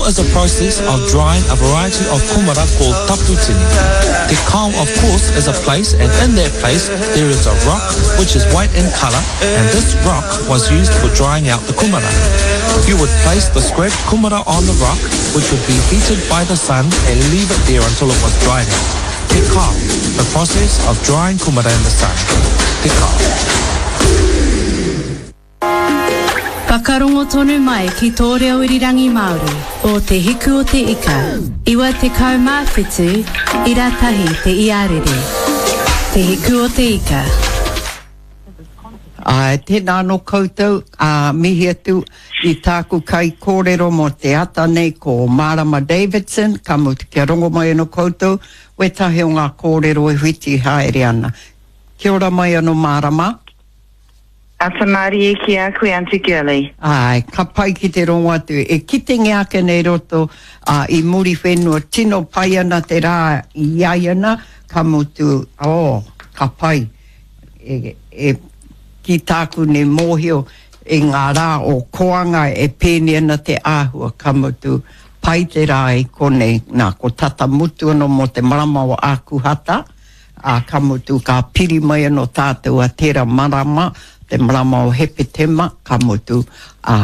kao is a process of drying a variety of kumara called taputini. Te kao, of course, is a place and in that place there is a rock which is white in colour and this rock was used for drying out the kumara. You would place the scraped kumara on the rock which would be heated by the sun and leave it there until it was dried out. Te kao, the process of drying kumara in the sun. Te kao. Whakarongo tonu mai ki tō reo irirangi Māori o Te Hiku o Te Ika, 97 ira tahi te iarere. Te Hiku o Te Ika. Āe, tēnā anō koutou, ā, mihi atu i tāku kaikōrero mō te ata nei ko Mārama Davidson, ka mutu kia rongo mai anō koutou wētahi o ngā kōrero e whiti haere ana. Kia ora mai anō Mārama. Ata mārie ki a koe Aunty Girlie. Āe, ka pai ki te rongo atu. E kitengia ake nei roto, ā, i Muriwhenua, tino pai ana te rā i aiana, ka mutu, oh, ka pai. E, e, ki tāku nei mōhio, i ngā rā o Koanga e pēnei ana te āhua, ka mutu, pai te rā i konei, nā, ko tata mutu anō mō te marama o Ākuhata, Ā, ka mutu, ka piri mai anō tātou a tērā marama, te marama o Hepetema, ka mutu, ā,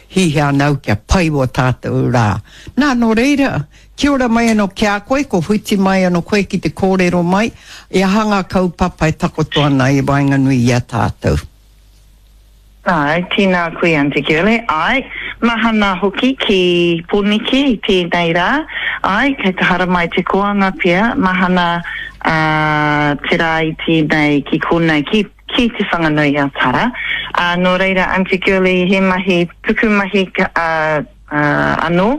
hihia ana au kia pai wō tātou rā. Nā, nō reira, kia ora mai anō ki a koe, ko whiti mai anō koe ki te kōrero mai, i aha ngā kaupapa e takoto ana i waenganui i a tātou. Āe, tēnā koe Aunty Girlie. Āe, mahana hoki ki Poneke i tēnei rā. Āe, kei te haramai te koanga pea, mahana te rā i tēnei ki konei, ki, ki Te Whanganui-a-Tara. Ā, nō reira Aunty Girlie, he mahi pukumahi anō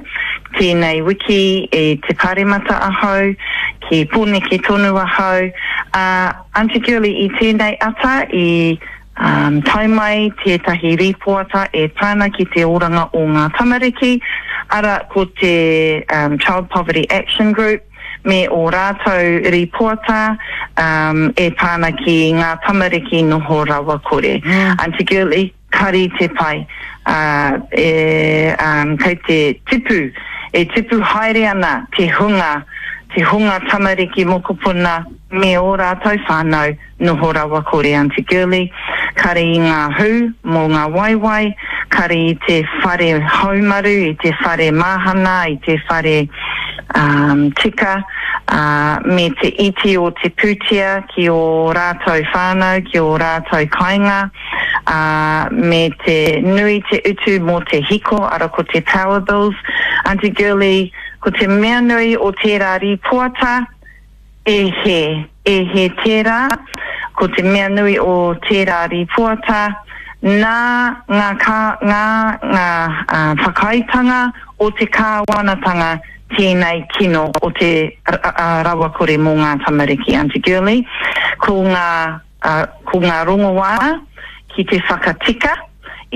tēnei wiki i te Pāremata ahau, ki Pōneke tonu ahau. Ā, Aunty Girlie, i tēnei ata i Tae mai tētahi rīpoata e pā ana ki te oranga o ngā tamariki, arā ko te Child Poverty Action Group me ō rātou rīpoata e pā ana ki ngā tamariki noho rawakore. Aunty Girlie, kari te pai, e, kei te tipu, e tipu haere ana te hunga, te hunga tamariki mokopuna me ō rātou whānau Noho rawa kore Aunty Girlie, kare i ngā hū mō ngā waewae, kare i te whare haumaru, i te whare mahana, i te whare tika, ā, me te iti o te pūtea ki ō rātou whānau, ki ō rātou kāinga, ā, me te nui te utu mō te hiko, ara ko te power bills. Aunty Girlie, ko te mea nui o tērā rīpoata, E hē, e hē tērā, ko te mea nui o tērā rīpoata, nā ngā kā, ngā, ngā whakaaetanga o te kāwanatanga tēnei kino o te rawakore mō ngā tamariki, Aunty Girlie, ko ngā, ko ngā rongoā ki te whakatika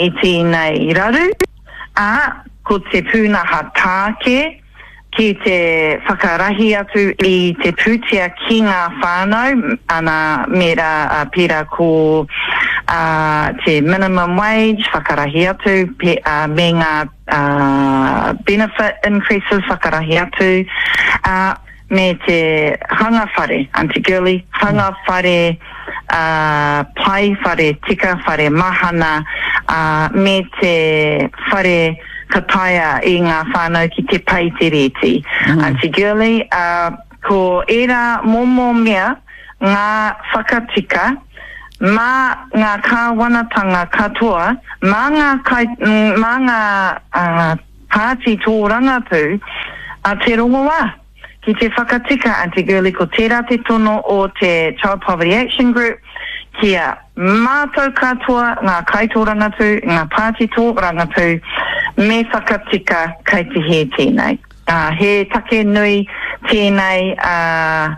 i tēnei raru, ā, ko te pūnaha tāke, ki te whakarahi atu i te pūtea ki ngā whānau, ana, mēra, pērā ko te minimum wage, whakarahi atu, me ngā benefit increases, whakarahi atu, ā, me te hanga whare, Aunty Girlie, hanga whare pai, whare tika, whare mahana, ā, me te whare ka taea i ngā whānau ki te pei te rēti. Aunty Girlie, ā, ko ērā momo mea ngā whakatika mā ngā kāwanatanga katoa, mā ngā kai, mā ngā pāti tōrangapū a te rongoā. Ki te whakatika, Aunty Girlie, ko tērā te tono o te Child Poverty Action Group kia mātau katoa ngā kaitōrangapū, ngā pāti tōrangapū, me whakatika kei te hē tēnei. Ā, he take nui tēnei, ā,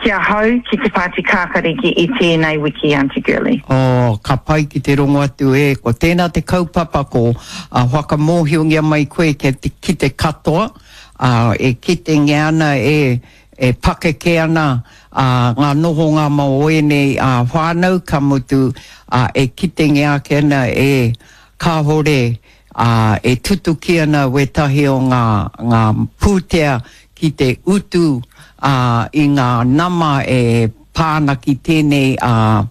ki ahau, ki te Pāti Kākariki i tēnei wiki, Aunty Girlie. Oh, ka pai ki te rongo atu e, ko tēnā te kaupapa ko, ā, whakamōhiongia mai koe ki te, ki te katoa, ā, e kitengia ana e, e pakeke ana, ā, ngā nohonga mō ēnei, ā, whānau, ka mutu, ā, e kitengia ake ana e, kāore, ā, e tutuki ana wētahi o ngā, ngā pūtea ki te utu, ā, i ngā nama e pā ana ki tēnei, ā,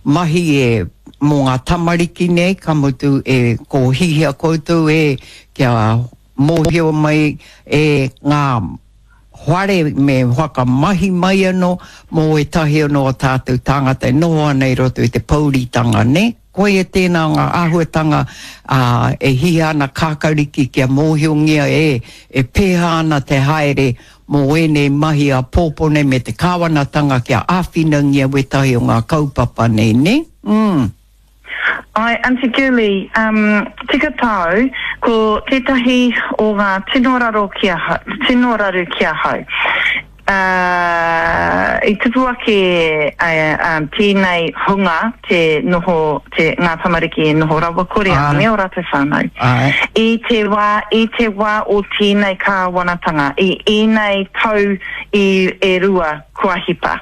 mahi e, mō ngā tamariki nei, ka mutu e, ko hihia koutou e, kia mōhio mai e ngā whare me whakamahi mai anō mō ētahi anō o tātou tāngata e noho ana i roto i te pouritanga, nē? Koia tēnā o ngā āhuatanga, ā, e hihia ana kākariki kia mōhiongia e, e pēhā ana te haere mō ēnei mahi āpōpō nei me te kāwanatanga kia āwhinangia wētahi o ngā kaupapa nei, nē? Mm. Āe, Aunty Girlie, um, tika tāu, ko tētahi o ngā tino raro ki ahau, tino raru ki ahau. Uh, i tupu ake uh, um, tēnei hunga te noho, te, ngā tamariki e noho rawakore ana me ō rātou whānau. Āe. I te wā, i te wā o tēnei kāwanatanga, i ēnei tau i, e rua kua hipa.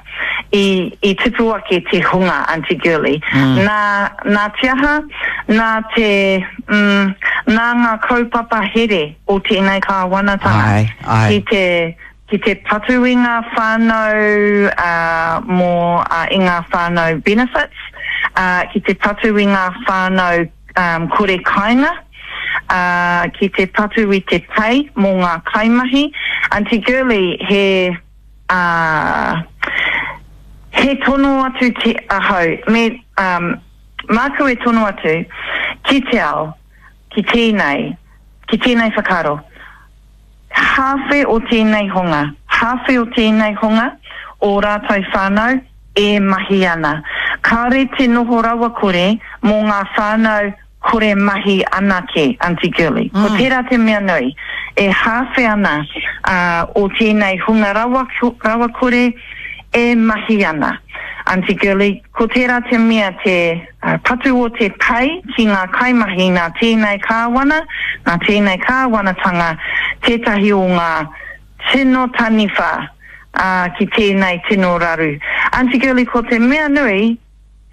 I, i tupu ake te hunga, Aunty Girlie. Nā, nā te aha? Nā te, mm, nā ngā kaupapa here o tēnei kāwanatanga. Āe, āe. Ki te, ki te patu i ngā whānau, ā, mō, ā, i ngā whānau benefits, ā, ki te patu i ngā whānau, um, kore kāinga, ā, ki te patu i te pay mō ngā kaimahi. Aunty Girlie, he, Ā, he tono atu te ahau, me, ā, māku e tono atu ki te ao, ki tēnei, ki tēnei whakaaro, hāwhe o tēnei hunga, hāwhe o tēnei hunga, ō rātou whānau e mahi ana. Kāore te noho rawakore mō ngā whānau kore mahi anake, Aunty Girlie. Ko tērā te mea nui, e hāwhe ana o tēnei hunga rawakore e mahi ana. Aunty Girlie, ko tērā te mea te patu o te pei ki ngā kaimahi nā tēnei kāwana, nā tēnei kāwanatanga tētahi o ngā tino taniwha ki tēnei tino raru. Aunty Girlie, ko te mea nui,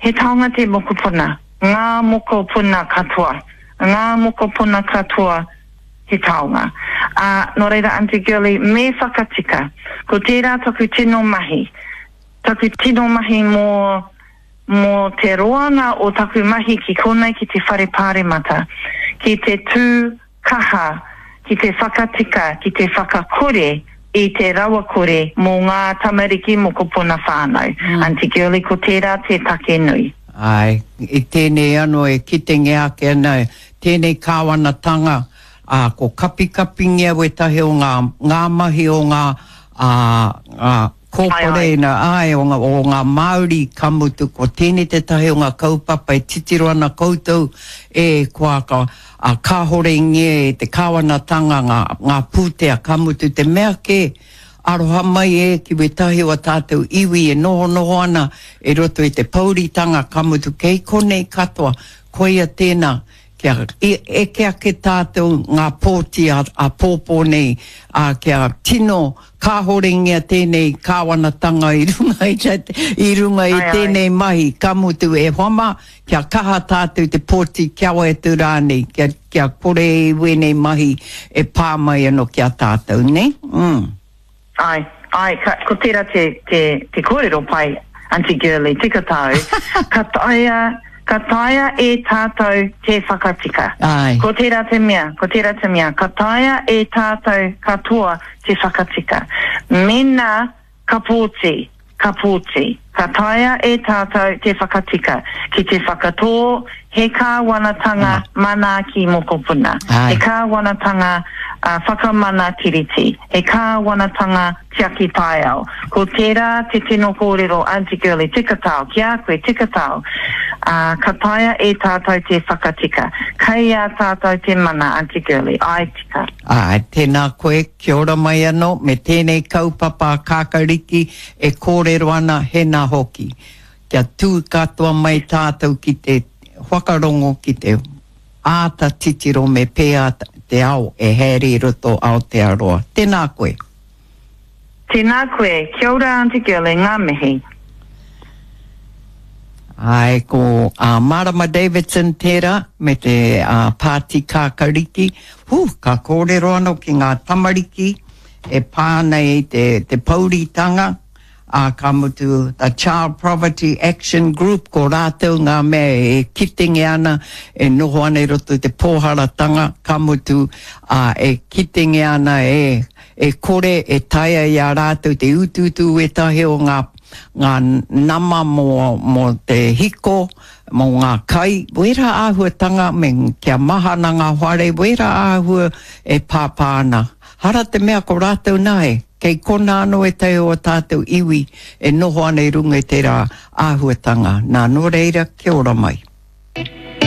He taonga te mokopuna, ngā mokopuna katoa, ngā mokopuna katoa he taonga. Ā, nō reira Aunty Girlie, me whakatika. Ko tērā taku tino mahi. Taku tino mahi mō, mō te roanga o taku mahi ki konei ki te Whare Pāremata, ki te tū kaha ki te whakatika, ki te whakakore i te rawakore mō ngā tamariki mokopuna whānau. Aunty Girlie, ko tērā te take nui. Āe, i tēnei anō e kitengia ake ana tēnei kāwanatanga, ā, ko kapikapingia wētahi o ngā, ngā mahi o ngā, ā, ngā kōpareina, āe, o ngā, o ngā Māori, ka mutu ko tēnei tētahi o ngā kaupapa e titiro ana koutou, e, kua ka, ā, kāhorengia e te kāwanatanga ngā, ngā pūtea, ka mutu te mea kē, aroha mai e ki wētahi o a tātou iwi e nohonoho ana i roto i te pouritanga, ka mutu kei konei katoa, koia tēnā, kia eke ake tātou ngā pōti āpōpō nei, ā, kia tino kāhorengia tēnei kāwanatanga i runga i, i runga i tēnei mahi, ka mutu e hoa mā, kia kaha tātou te pōti kia wae atu rānei, kia, kia kore i wēnei mahi e pā mai anō ki a tātou, nē? Mm. Āe, āe, ka, ko tērā te, te, te kōrero pai, Aunty Girlie, tika tāu, ka taea, ka taea e tātou te whakatika. Āe. Ko tērā te mea, ko tērā te mea, ka taea e tātou katoa te whakatika. Mēnā ka pōti, ka pōti, ka taea e tātou te whakatika, ki te whakatō he kāwanatanga manaaki mokopuna, he kāwanatanga whakamana tiriti, he kāwanatanga tiaki taiao. Ko tērā te tino kōrero Aunty Girlie, tika tao, ki a koe, tika tao, ā, ka taea e tātou te whakatika. Kei a tātou te mana, Aunty Girlie, āe tika. Āe, tēnā koe, kia ora mai anō me tēnei kaupapa a Kākariki e kōrero ana hēnā hoki. Kia tū katoa mai tātou ki te whakarongo, ki te āta titiro me pēhea te ao e haere i roto Aotearoa. Tēnā koe. Tēnā koe. Kia ora Aunty Girlie, ngā mihi. Āe, ko a Marama Davidson tērā me te Pāti Kākariki. Hū, ka kōrero anō ki ngā tamariki e pā ana i te, te pouritanga, ā, ka mutu The Child Poverty Action Group, ko rātou ngā mea e kitengia ana, e noho ana i roto i te pōharatanga, ka mutu, ā, e kitengia ana e, e kore e taea i a rātou te utuutu wētahi o ngā, ngā nama mō, mō te hiko, mō ngā kai, wērā āhuatanga me kia mahana ngā whare, wērā āhua e pāpā ana. Hara te mea ko rātou nā e, kei konā anō ētahi o ā tātou iwi e noho ana i runga i tērā āhuatanga. Nā, nō reira, kia ora mai.